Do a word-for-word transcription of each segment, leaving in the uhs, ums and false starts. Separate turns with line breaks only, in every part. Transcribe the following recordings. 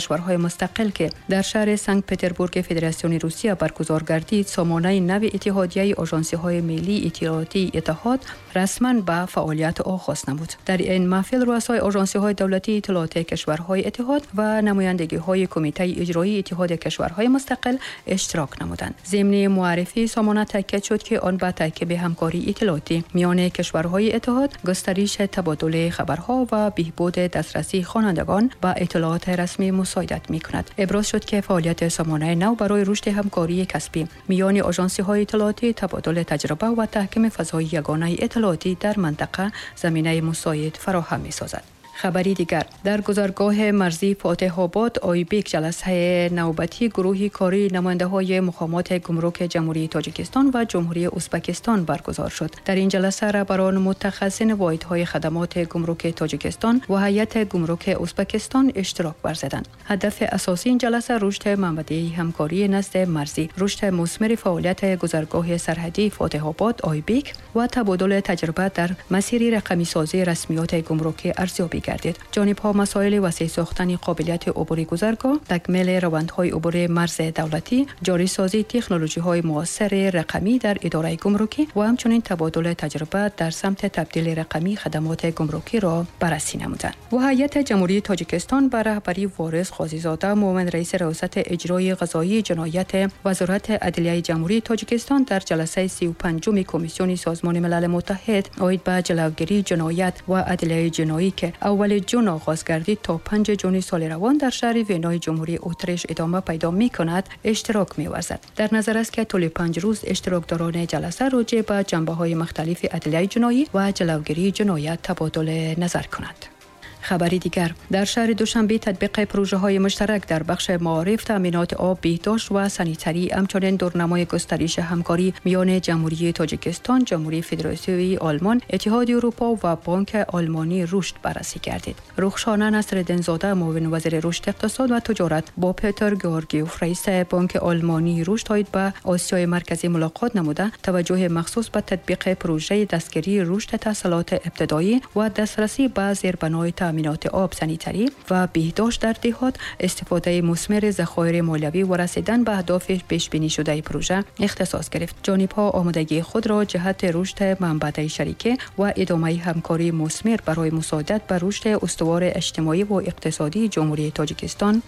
کشورهای مستقل که در شهر سنت پترزبورگ فدراسیون روسیه برگزار گردید، سامانه نو اتحادیه آژانسی‌های ملی اطلاعاتی اتحاد رسما به فعالیت آغاز نمود. در این محفل رؤسای آژانسی‌های دولتی اطلاعات کشورهای اتحاد و نمایندگی‌های کمیته اجرایی اتحاد کشورهای مستقل اشتراک نمودند. ضمن معرفی سامانه تاکید شد که آن به ترکیب همکاری اطلاعاتی میان کشورهای اتحاد، گسترش تبادل خبرها و بهبود دسترسی خوانندگان به اطلاعات رسمی مساعدت می‌کند. ابراز شد که فعالیت سامانه نو برای رشد همکاری کسبی میان آژانسی‌های اطلاعاتی، تبادل تجربه و تحکیم فضای یگانه اطلاعاتی در منطقه زمینه مساعد فراهم می‌سازد. خبری دیگر، در گذرگاه مرزی فاتح آباد آیبیک جلسه نوبتی گروه کاری نماینده های مقامات گمرک جمهوری تاجیکستان و جمهوری ازبکستان برگزار شد. در این جلسه رهبران متخصصین واحدهای خدمات گمرک تاجیکستان و هیئت گمرک ازبکستان اشتراک ورزیدند. هدف اساسی این جلسه رشد منبع همکاری نزد مرزی، رشد مثمر فعالیت گذرگاه سرحدی فاتح آباد آیبیک و تبادل تجربه در مسیر رقمی سازی رسمیات گمرکی ارزیابی گردید. جانب‌ها مسائل وسیع ساختن قابلیت عبور گذرگاه، تکمیل روندهای عبور مرز دولتی، جاری سازی تکنولوژی‌های معاصر رقمی در اداره گمرکی و همچنین تبادل تجربه در سمت تبدیل رقمی خدمات گمرکی را بررسی نمودند. و هیئت جمهوری تاجیکستان به رهبری وارث قاضی‌زاده، معاون رئیس ریاست اجرای قضایی جنایت وزارت عدلیه جمهوری تاجیکستان در جلسه سی و پنجم کمیسیون سازمان ملل متحد عاید به جلوگیری جنایت و عدلیه جنایی که اول جون آغاز گردید تا پنج جون سال روان در شهر وینای جمهوری اتریش ادامه پیدا می کند اشتراک می ورزد. در نظر است که طول پنج روز اشتراکداران جلسه راجع به جنبه های مختلف عدلیه جنایی و جلوگیری جنایت تبادل نظر کنند. خبری دیگر، در شهر دوشنبه تطبیق پروژه های مشترک در بخش معارف، تامینات آب، بهداشت و سانیتری، همچنین دورنمای گسترش همکاری میان جمهوری تاجیکستان، جمهوری فدراسیونی آلمان، اتحادیه اروپا و بانک آلمانی رشد بررسی گردید. رخشانه نصرالدین‌زاده، معاون وزیر رشد اقتصاد و تجارت، با پتر گیورگیوف رئیس بانک آلمانی رشد عاید به آسیای مرکزی ملاقات نموده، توجه مخصوص به تطبیق پروژه دستگیری رشد تحصیلات ابتدایی و دسترسی به زیربنای تامینات آب، سانیتری و بهداشت در دهات، استفاده مثمر ذخایر مالیوی و رسیدن به اهداف پیش بینی شده پروژه اختصاص گرفت. جانب‌ها آمادگی خود را جهت رشد منبع شریکه و ادامه همکاری مثمر برای مساعدت بر رشد استوار اجتماعی و اقتصادی جمهوری تاجیکستان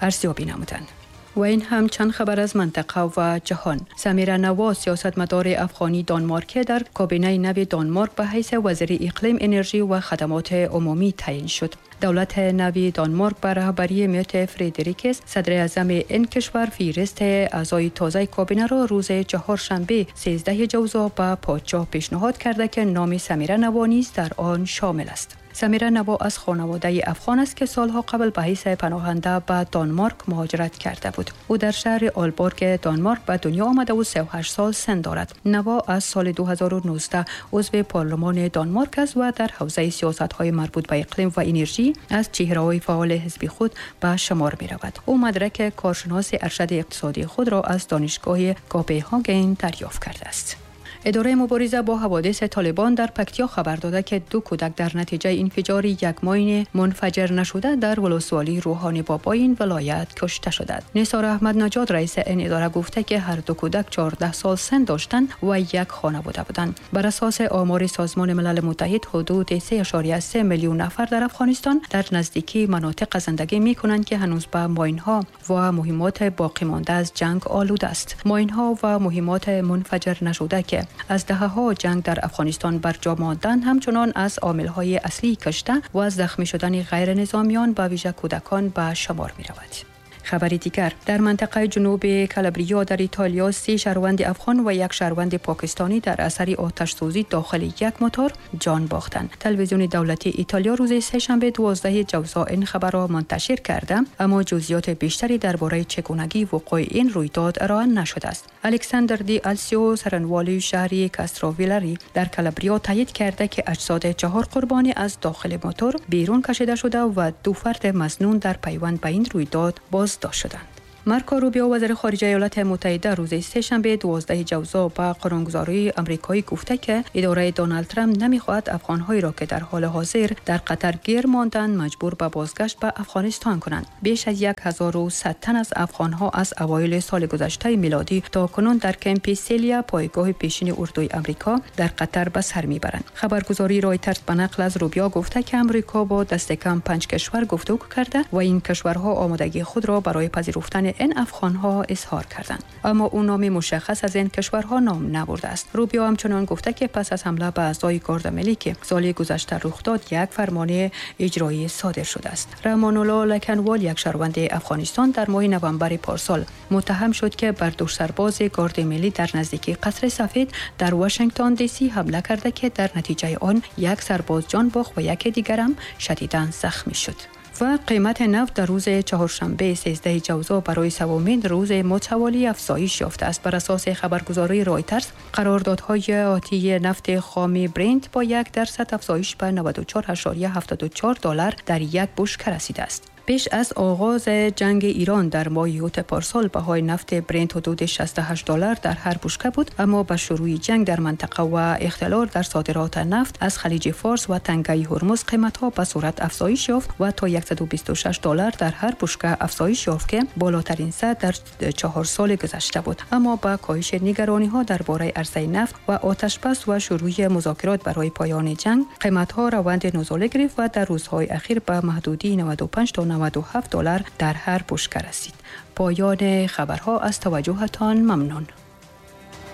ارزیابی نمودند. و این هم چند خبر از منطقه و جهان. سمیرا نواز، سیاستمدار افغانی دانمارک، در کابینه نو دانمارک به حیث وزیر اقلیم، انرژی و خدمات عمومی تعیین شد. دولت نوی دانمارک به رهبری میت فردریکس، صدر اعظم این کشور، فهرست اعضای تازه کابینه را روز چهارشنبه سیزده جوزا به پادشاه پیشنهاد کرده که نام سمیرا نوا نیز در آن شامل است. سمیرا نوا از خانواده افغان است که سالها قبل به حیث پناهنده به دانمارک مهاجرت کرده بود. او در شهر آلبورگ دانمارک به دنیا آمده و سی و هشت سال سن دارد. نوا از سال دو هزار و نوزده عضو پارلمان دانمارک است و در حوزه سیاست‌های مربوط به اقلیم و انرژی از چهره‌های فعال حزب خود به شمار می‌رود. او مدرک کارشناس ارشد اقتصادی خود را از دانشگاه کوپنهاگن دریافت کرده است. اداره مبارزه با حوادث طالبان در پکتیا خبر داده که دو کودک در نتیجه انفجار یک ماین منفجر نشده در ولسوالی روحانی بابا این ولایت کشته شدند. نثار احمد نجات، رئیس این اداره، گفته که هر دو کودک چهارده سال سن داشتند و یک خانواده بودند. بر اساس آمار سازمان ملل متحد، حدود سه اعشاریه سه میلیون نفر در افغانستان در نزدیکی مناطق زندگی می کنند که هنوز به ماین‌ها و مهمات باقی مانده از جنگ آلوده است. ماین‌ها و مهمات منفجر نشده که از دهه‌ها جنگ در افغانستان بر جا ماندن، همچنان از عامل‌های اصلی کشته و از زخمی شدن غیر نظامیان به ویژه کودکان به شمار می‌رود. خبری دیگر، در منطقه جنوب کالابریا در ایتالیا سه شهروند افغان و یک شهروند پاکستانی در اثر آتش سوزی داخل یک موتور جان باختند. تلویزیون دولتی ایتالیا روز سه شنبه دوازده جوزا این خبر را منتشر کرده، اما جزئیات بیشتری درباره چگونگی وقوع این رویداد ارائه نشده است. الکساندر دی السیو، سرنوالی شهری کاستروویلری در کالابریا، تایید کرده که اجساد چهار قربانی از داخل موتور بیرون کشیده شده و دو فرد مظنون در پیوند به این رویداد بازداشت شدند. مارکو روبیو، وزیر خارجه ایالات متحده، روز سه‌شنبه دوازده جوزا به قانونگذاری آمریکایی گفته که اداره دونالد ترامپ نمیخواهد افغان‌هایی را که در حال حاضر در قطر گیر ماندند مجبور به بازگشت به افغانستان کنند. بیش از هزار و صد تن از افغان‌ها از اوایل سال گذشته میلادی تا کنون در کمپ سیلیا، پایگاه پیشین اردوی آمریکا در قطر، به سر میبرند. خبرگزاری رایترز به نقل از روبیو گفته که آمریکا با دست کم پنج کشور گفتگو کرده و این کشورها آمادگی خود را برای پذیرفتن این افغانها اظهار کردند، اما او نام مشخص از این کشورها نام نبرده است. روبیو همچنان گفته که پس از حمله به اعضای گارد ملی که سال گذشته رخ داد، یک فرمان اجرایی صادر شده است. رحمان الله لکنوال، یک شهروند افغانستان، در ماه نوامبر پارسال متهم شد که بر دو سرباز گارد ملی در نزدیکی قصر سفید در واشنگتن دی سی حمله کرده که در نتیجه آن یک سرباز جان باخت و یک دیگر هم شدیداً زخمی شد. و قیمت نفت در روز چهارشنبه سیزده جوزا برای سومین روز متوالی افزایش یافته است. بر اساس خبرگزاری رایترز، قراردادهای آتی نفت خام برنت با یک درصد افزایش به نود و چهار ممیز هفتاد و چهار دلار در یک بشکه رسیده است. پیش از آغاز جنگ ایران در ماه اوت پارسال، بهای نفت برنت حدود شصت و هشت دلار در هر بشکه بود، اما به شروع جنگ در منطقه و اختلال در صادرات نفت از خلیج فارس و تنگه هرمز، قیمت ها به سرعت افزایش یافت و تا صد و بیست و شش دلار در هر بشکه افزایش یافت که بالاترین سطح در چهار سال گذشته بود. اما با کاهش نگرانی ها درباره عرضه نفت و آتش بس و شروع مذاکرات برای پایان جنگ، قیمت ها روند نزولی گرفت و در روزهای اخیر به محدوده نود و پنج تا نود و هفت دلار در هر بشکه رسید. پایان خبرها. از توجهتان ممنون.